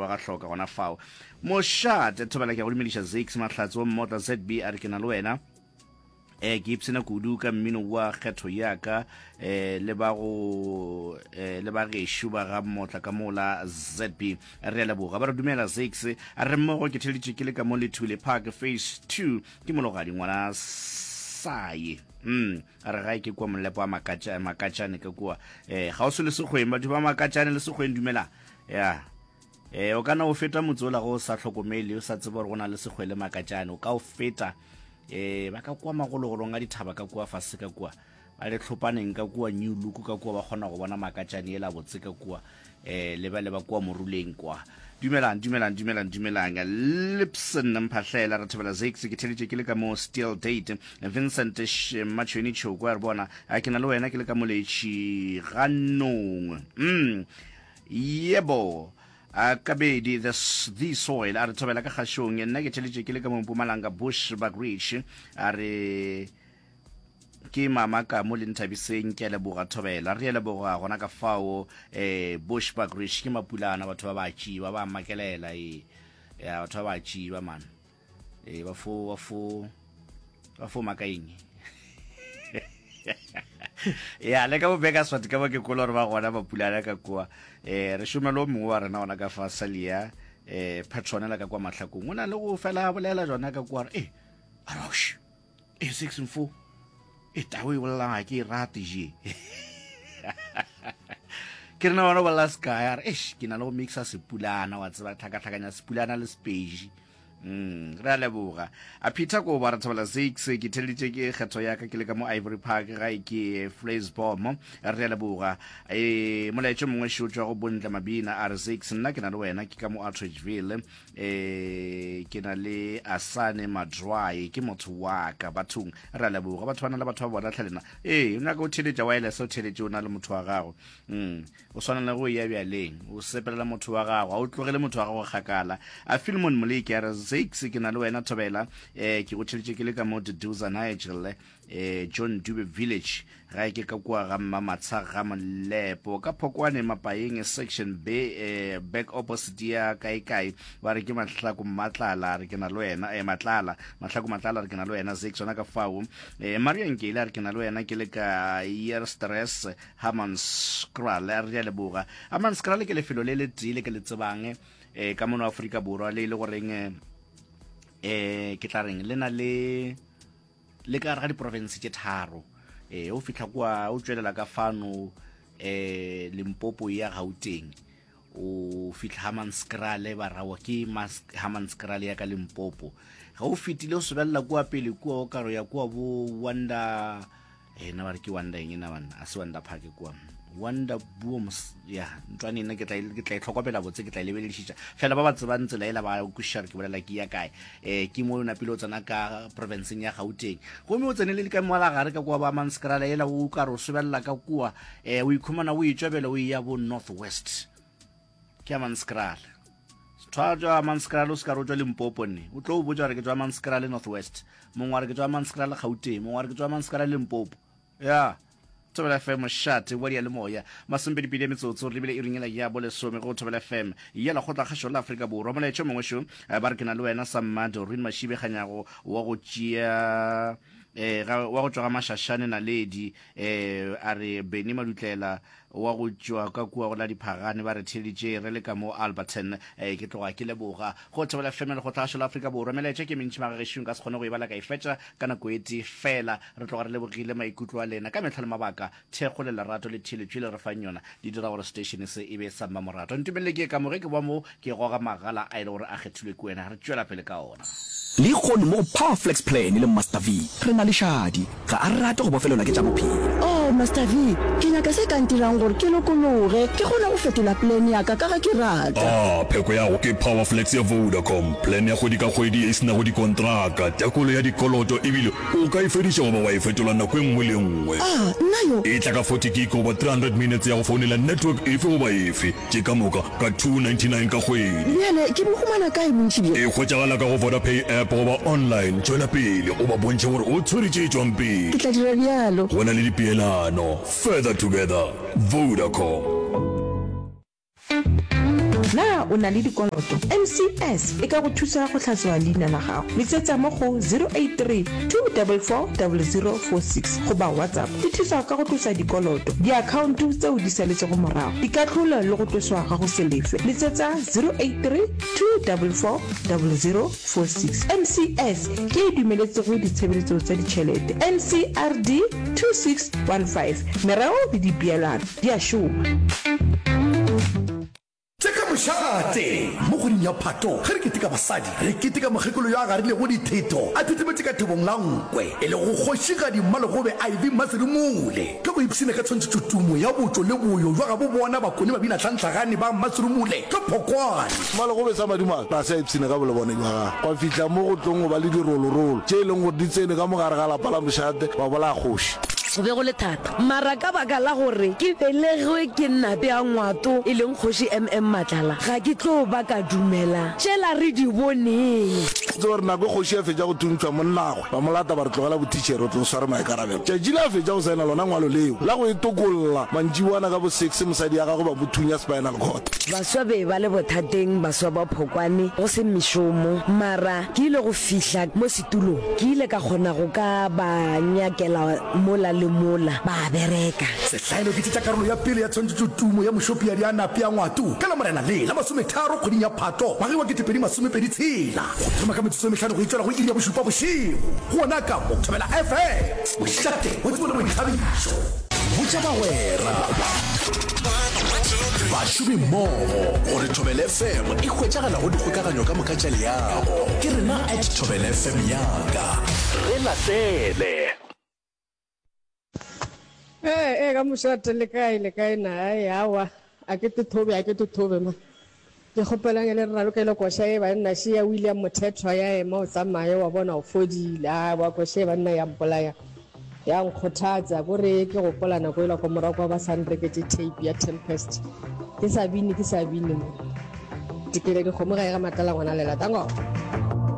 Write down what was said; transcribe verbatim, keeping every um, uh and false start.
wa ga hloka gona fao. Mošate Thobela ke a go dumediša Zakes Mahlatse wa Mmotla Z B a re ke na le wena. Eh ke ipshina kudu ka mmino wa kgetho ya ka eh le ba go eh le ba gešo ba ga Mmotla ka mola Z B. Re a leboga. Ba re dumela Zakes a re mmogo ke theleditše ke le ka mo Lethule Park Phase two ke mologadi ngwana saye. Mm a re gae ke kua molepo wa Makatša Makatšane ka kua eh kgauswi le Sekgweng. Batho ba Makatšane le Sekgweng dumela. Ya eh o kana o feta motse ola go sa hlokomele o sa tsebe gore go na le Sekgwe le Makatšane o ka o feta eh ba ka kua magologolong a dithaba ka kua fase ka kua ba le tlhopaneng ka kua New Look ka kua ba kgona go bona Makatšane ela botse ka kua eh le ba le ba kua Moruleng kwa. Dumelang dumelang dumelang dumelang. Lipson Mphahlela re thobela Zakes ke theletše ke le ka mo Steel Date. Vincent Machweni Choko a re bona a ke na le wena ke le ka mo Letši ganong. Mm yebo. A Kabedi the, the soil a re thobela ka kgašong nna ke theletše ke le ka mo Mpumalanga Bushbuckridge a re ke mama ka mo le nthabiseng ke a leboga thobela re a leboga gona ka fao eh Bushbuckridge ke Mapulana batho ba ba tšiba ba makelela e ya batho ba ba tšiba man e ba fo ba fo ba fo makaeng ya le ka bo Bakersford ka bo ke kolo gore ba gona Mapulana ka kua eh re šomelo o mongwe wa rena gona ka fa Salia eh Petronella ka kwa Mahlakong o na le go fela a bolela jona ka kua re eh arosh eh six and four e tao e bolelang ga ke e rate je ke rena bona bolela sekae a re eish ke na le go mixa Sepulana wa tseba tlhakatlhakanya Sepulana le Sepedi. Mm, re a leboga a Peter ko ba re thobela six ke theleditše ke kgetho ya ka ke le ka mo Ivory Park gae ke Flaysbom re a leboga. E molaetšo mongwe šo tšwa go Bontle Mabina a re six nna ke na le wena ke ka mo Atteridgeville e ke na le Asane Madrwai ke motho wa ka bathong re a leboga batho ba na le batho ba bona tlhalena ee o nyaka o theletša wireless o theletše o na le motho wa gago mm o swana le go ya bjaleng o sepelela motho wa gago a o tlogele motho wa gago kgakala. A Philemon Moleki a re six ke na le wena thobela eh ke go theletše ke le ka mo Duduza Nigel eh John Dube Village gae ke ka kua ga Mmamatsha ga Molepo ka Phokwane Mapaeng section B eh, back opposite ya kae kae ba re ke Mahlako Matlala re ke na le wena eh Matlala Mahlako Matlala re ke na le wena six yona ka fao eh Maria Nkele a re ke na le wena ke le ka Year Stress Hammanskraal re a leboga. Hammanskraal ke lefelo le le tee le ke le tsebang eh ka mono Afrika Borwa le e le goreng eh ke tla reng le na le le ka gare ga diporofense tše tharo eh o fihla kua o tšwelela ka fano eh Limpopo ya Gauteng o fihla Hammanskraal ba rawa ke Hammanskraal ya ka Limpopo ge o fetile o sobelela kua pele kua o karo ya kua bo Wonder eh na ba re ke Wonder eng na banna a se Wonder Park kua Wonder Booms ya ntlwane nna ke tla ke tla e tlhokomela botse ke tla e lebeledišiša fela ba ba tsebang tsela ela ba kwešiša gore ke bolela ke ya kae eh ke mo o napile o tsena ka provinceng ya Gauteng gomme o tsenele ka mola gare ka kua ba Hammanskraal ela o ka re o sobelela ka kua eh o ikhumana o itšwabela o ya bo North West ke Hammanskraal thwa tšwa Hammanskraal o se ka re o tšwa Limpopo nne o tlo o botša gore ke tšwa Hammanskraal North West mongwe wa re ke tšwa Hammanskraal Gauteng mongwe wa re ke tšwa Hammanskraal Limpopo ya Thobela F M mošate wa diyalemoya masomepedipedi ya metsotso re lebile iring ela ya bolesome go Thobela F M ya lekgotla kgašo la Afrika Borwa. Molaetša mongwe šo ba re ke na le wena sa Mmado Rin Mashibe Kganyago wa go tšea eh wa go tšwa ga Mashashane Naledi eh a re Benny Madutlela wa go tšwa ka kua go la Diphagane ba re theleditše re le ka mo Alberton eh ke tloga ke leboga go Thobela F M lekgotla kgašo la Afrika Borwa. Melaetša ke mentši magagešong ka se kgone go e bala ka e fetša ka nako e tee fela re tloga re lebogile maikutlo a lena ka mehla le mabaka thekgo le lerato le theeletšo le re fang yona di dira gore station se e be sa mmamoratwa. Ntumelele ke ka mo ge ke boa mo ke goga magala a e le gore a kgethilwe ke wena re tšwela pele ka ona. Lehono mo go Power Flex Plan le Master V re na le Shadi. Ga a rate go bofelelwa ke tša bophelo. Oh, Master V, ke nyaka se ka ntirang gore ke lokologe, ke kgone go fetola plan ya ka ka ge ke rata. Ah, pheko ya go ke Power Flex ya Vodacom, plan ya kgwedi ka kgwedi ye e se nago dikontraka, tekolo ya dikoloto ebile o ka e fediša goba wa e fetola nako e nngwe le e nngwe. Ah, nna yo. E tla ka forty gig goba three hundred minutes ya go founela network efe goba efe, tše ka moka ka two ninety-nine ka kgwedi. Bjale ke bo humana kae bontši bjo? E hwetšagala ka go Vodapay app goba online. Tšwela pele o ba bontšhe gore o tshwere tše tšwang pele. Ke tla dira bjalo. Go na le dipeelano. Further together. Vodacom. Na o na le dikoloto, M C S e ka go thusa go hlatswa leina la gago. Letsetsa mo go zero eight three two double four double zero four six goba WhatsApp. Di thusa ka go tlosa dikoloto, diakhaonto tseo di saletšego morago, dikahlolo le go tloswa ga go se lefe. Letsetsa zero eight three two double four double zero four six. M C S ke e dumeletsego ditshebeletso tsa ditšhelete. N C R D two six one five. Mereo le dipeelano di a šoma. Tše ka mošate mo kgweding ya Phato ge re keteka basadi, re keteka mokgekolo yo a garilego dithetho a thethemetše ka thobong la nkwe, e lego Kgošigadi Mmalegobe Ivy Mmaserumule. Ka go ipshina ka tshwantšhetšotumo ya botšo le boyo bja gabo bona Bakone babinatlhanhlagane ba Mmaserumule ka Phokwane. Mmalegobe sa madimabe ga se a ipshina ka bolebone bja gagwe, gwa fihla mo go tlong go ba le dirolorolo tše e leng gore di tsene ka mo gare ga lapa la mošate ba bolaya kgoši. Go be go le thata, mara ka baka la gore ke belegwe ke Nape a Ngwato, e leng Kgoši M M Matlala, ga ke tlo ba ka dumela tšela re di boneng. Tseba gore nako e kgoši a fetša go thuntšhwa monnagwe, ba mo lata ba re tlogela bothitšhere o tlo sware maikarabelo. Tšatši le a fetša go saena lona ngwalo leo la go e tokolla, mantšiboana ka bo six mosadi ya gagwe ba mo thunya spinal cord. Baswa be ba le bothateng, baswa ba Phokwane, go se mešomo, mara ke ile go fihla mo setulong, ke ile ka kgona go ka ba nyakela mola le mola, ba bereka. Sehlaelo ke tše tša karolo ya pele ya tshwantšhetšotumo ya Mošopiadi a Nape a Ngwato ka Lamorena le la masometharo kgweding ya Phato ngwageng wa ketepedi masomepedi tshela go thoma ka metsotso e mehlano go itšwela go iri ya bošupa bošego go ona ka mo Thobela F M, mošate wa tsebo le boithabišo. Botša bagwera, bašomimmogo gore Thobela F M e hwetšagala go dikgokaganyo ka moka tša leago. Ke rena at Thobela F M yaka. Re latele. Ee, ee, ka mošate le kae, le kae na? Ai, aowa, a ke tothobe, a ke tothobe ma. Ke kgopelang e le re ralokele koša ye banna, še ya William Mothethwa ya ema o tsamaye wa bona o fodile. Aowa, koša ye banna ya mpolaya, ya nkgothatsa. Ko re ke gopola nako ela kwa morago kwa ba sa nreketše tape ya Tempest. Ke sa bine, ke sa bine mo. Tekele dikgomo ga e ga Matlala ngwana lela. Tango.